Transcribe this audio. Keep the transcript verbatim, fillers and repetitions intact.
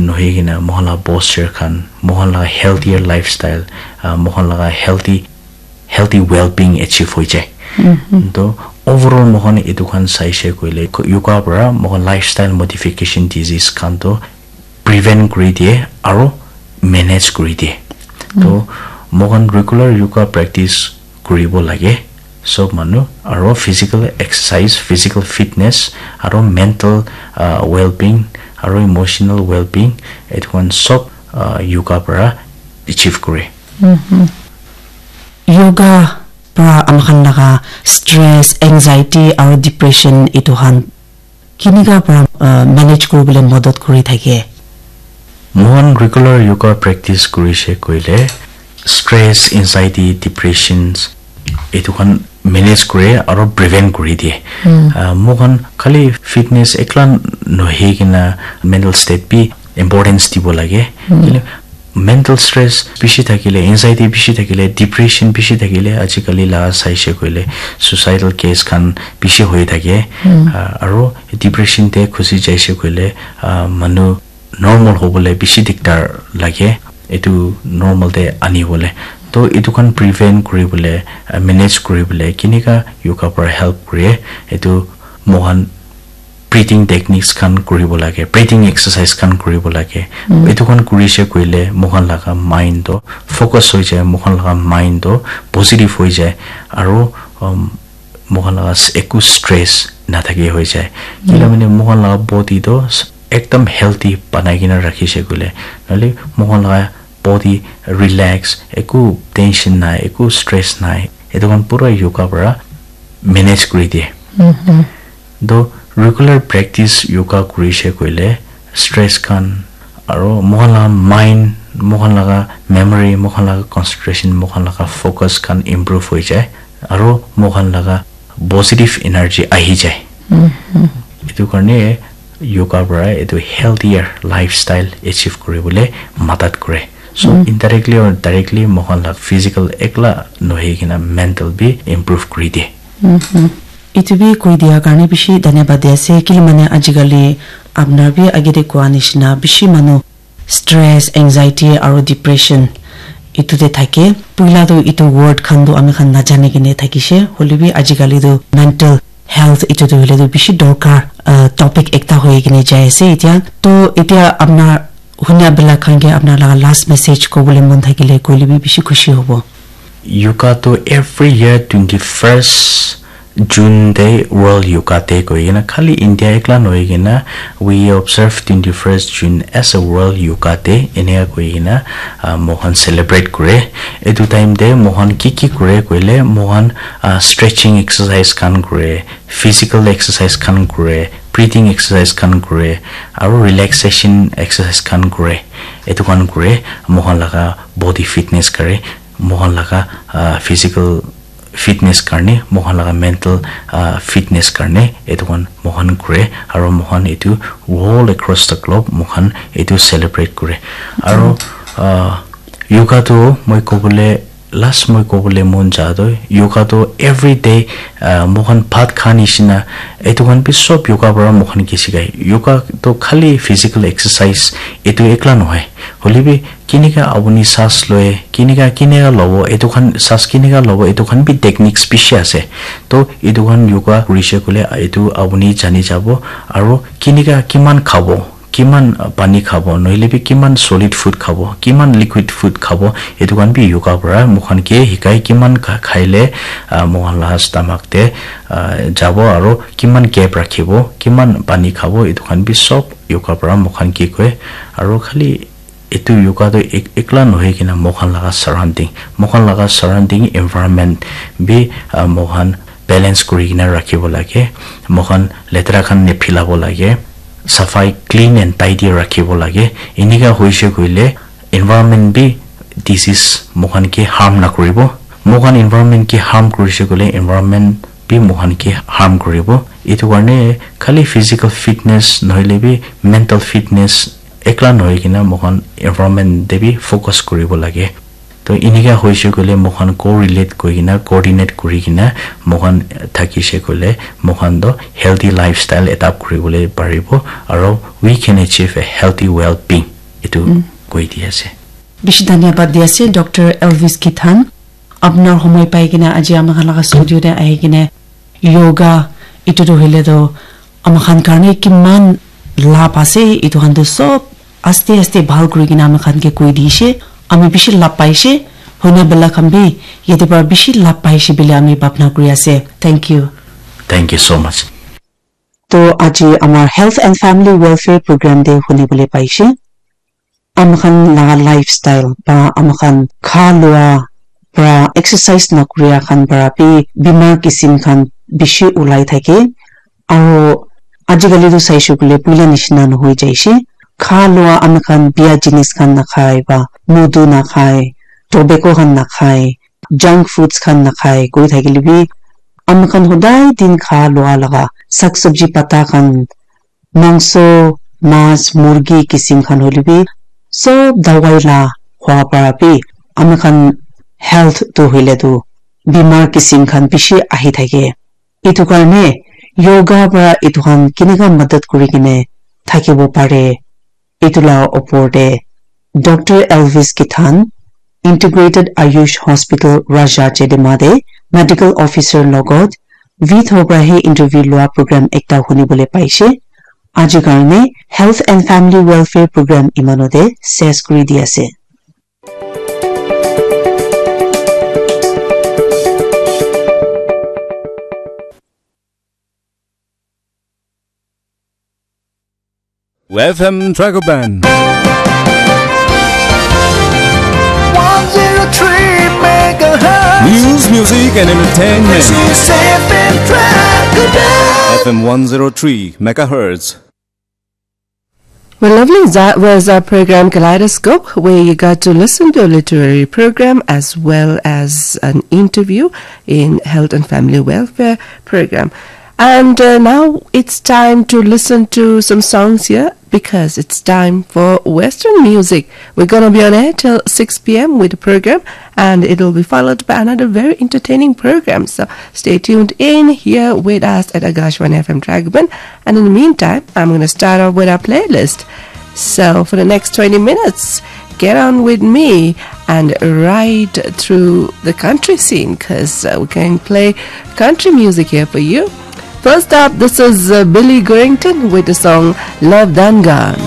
nohoi kena moikhan la posture khan, moikhan la healthier lifestyle, ah, moikhan la healthy, healthy well-being achieve hoi jai. To overall moikhan etu khan saishe koile yoga para moikhan lifestyle modification disease khan to prevent kuri diye aro manage kuri diye. To moikhan regular yoga practice kuribo lage. Sob manu aro physical exercise, physical fitness, aro mental, ah, well-being, aro emotional well-being, etu khan sob, ah, yoga para achieve kore. Yoga para amakhan laga stress, anxiety aro depression etu khan kinika para, ah, manage kuribole madad kuri thake? Moikhan regular yoga practice kurishe koile stress, anxiety, depressions etu khan manage kure aro prevent kuri diye. Ah, moikhan khali fitness ekla nohoi kena mental state bi importance dibo lage. Kile mental stress bishi thakile, anxiety bishi thakile, depression bishi thakile, ajikali la saishe koile suicidal case khan bishi hoi thake. Ah, aro depression te khusi jaishe koile, ah, manu normal hobole bishi diktar lage, etu normal te anibole. To etu khan prevent kuribole, ah, manage kuribole kinika yoga para help kure, etu moikhan breathing techniques khan kuribo lage, breathing exercise khan kuribo lage. Etu khan kurishe koile moikhan laga mind to focus hoi jai, moikhan laga mind to positive hoi jai, aro, um, moikhan laga s-, eku stress nathaki hoi jai. Kila mane moikhan laga body to s-, ekdam healthy banai kena rakhishe koile, nahole moikhan laga body relax, eku tension nai, eku stress nai, etu khan pura yoga para manage kuri diye. To regular practice yoga kurishe koile stress khan aro moikhan laga mind, moikhan laga memory, moikhan laga concentration, moikhan laga focus khan improve hoi jai, aro moikhan laga positive energy ahi jai. Etu karne yoga para etu healthier lifestyle achieve kuribole madad kore. So indirectly or directly moikhan laga physical ekla nohoi kena mental bi improve kuri diye. Etu bi koi dia karne bishi dhanyabad di ase, kile mane ajikali apnar bi age te koa nishina bishi manu stress, anxiety aro depression etu te thake. Puila tu etu word khan tu ami khan najani kene thakishe, hoile bi ajikali tu mental health etu tu hoile tu bishi dorkar, ah, topic ekta hoi kene jai ase etia. To etia apnar hunia bela khan ke apnar laga last message kobole mon thakile koile bi bishi khushi hobo. Yoga tu every year twenty-first June te World Yoga Day koi kena khali India ekla nohoi kena we observe twenty-first June as a World Yoga Day eneka koi kena, ah, moikhan celebrate kure. Etu time te moikhan ki ki kure koile moikhan, ah, stretching exercise khan kure, physical exercise khan kure, breathing exercise khan kure, aro relaxation exercise khan kure. Etu khan kure moikhan laga body fitness kare, moikhan laga, ah, physical fitness karne, moikhan laga mental, ah, fitness karne etu khan moikhan kure, aro moikhan etu all across the globe moikhan etu celebrate kure. Aro, ah, yoga tu moi kobole, last moi kobole mon ja tu yoga tu every day, ah, moikhan bhat kha nishina etu khan bi sob yoga para moikhan ke sikai. Yoga tu khali physical exercise etu ekla nohoi, hoile bi kinika apuni saas loi, kinika, kinika lobo, etu khan saas kinika lobo, etu khan bi techniques bishi ase. To etu khan yoga kurishe koile etu apuni jani jabo, aro kinika, kiman khabo, kiman, uh, pani khabo, nohile bi kiman solid food khabo, kiman liquid food khabo, etu khan bi yoga para moikhan ke hikai, kiman kha-, khaile, uh, moikhan la stomach te, uh, jabo, aro kiman gap rakhibo, kiman pani khabo, etu khan bi sob yoga para moikhan ke koi. Aro khali etu yoga tu ek-, ekla nohoi kena moikhan laga surrounding, moikhan laga surrounding environment bi, ah, moikhan balance kuri kena rakhibo lage. Moikhan letera khan niphilabo lage. Safai, clean and tidy rakhibo lage. Eneka hoishe koile environment bi disease moikhan ke harm nakuribo. Moikhan environment ke harm kurishe koile environment bi moikhan ke harm kuribo. Etu karne khali physical fitness nohile bi mental fitness ekla nohoi kena moikhan environment te bi focus kuribo lage. To eneka hoishe koile moikhan correlate kuri kena, coordinate kuri kena moikhan thakishe koile moikhan to healthy lifestyle adapt kuribole paribo, aro we can achieve a healthy well-being. etu koi di ase. Bishi dhanyabad di ase, Doctor Elvis Kithan. Apnar homoi pai kena aji ami khan laga studio te ahi kena yoga, etu tu hoile tu ami khan karne kiman lab ase, etu khan tu sob aste aste bhal kuri kena ami khan ke koi di she, ami bishi lab pai she, hoina bela khan bi yate para bishi lab pai she bile ami bhabna kuri ase. Thank you. Thank you so much. To aji amar Health and Family Welfare Program te huni bole pai she. Ami khan laga lifestyle ba ami khan kha lua pra exercise na kuria khan para bi bimar kisim khan bishi ulai thake. Aro ajikali tu saishe koile puila nishina nohoi jaishe. Kha lua ami khan bia jinis khan nakhai ba mudu nakhai, tobacco khan nakhai, junk foods khan nakhai koi thakile bi ami khan hodai din kha lua laga sak sabji pata khan, mangso, mas, murgi kisim khan hoile bi sob dawai la khwa para bi ami khan health tu hoile tu bimar kisim khan bishi ahi thake. Etu karne yoga para etu khan kineka madad kuri kene thakibo pare, etu la opor te Doctor Elvis Kithan, Integrated Ayush Hospital, Raja Chedema te medical officer logot Vitho para he interview lua program ekta huni bole paishe. Aji karne Health and Family Welfare Program imanote ses kuri di ase. F M Dragon Band. One zero three megahertz. News, music, and entertainment. This is F M Dragon Band. F M one zero three megahertz. Well, lovely. That was our program Kaleidoscope, where you got to listen to a literary program as well as an interview in health and family welfare program. And uh, now it's time to listen to some songs here because it's time for Western music. We're going to be on air till six p m with the program, and it'll be followed by another very entertaining program. So stay tuned in here with us at Akashvani F M Dragon. And in the meantime, I'm going to start off with our playlist. So for the next twenty minutes, get on with me and ride through the country scene because uh, we can play country music here for you. First up, this is uh, Billy Gorington with the song Love Dangan.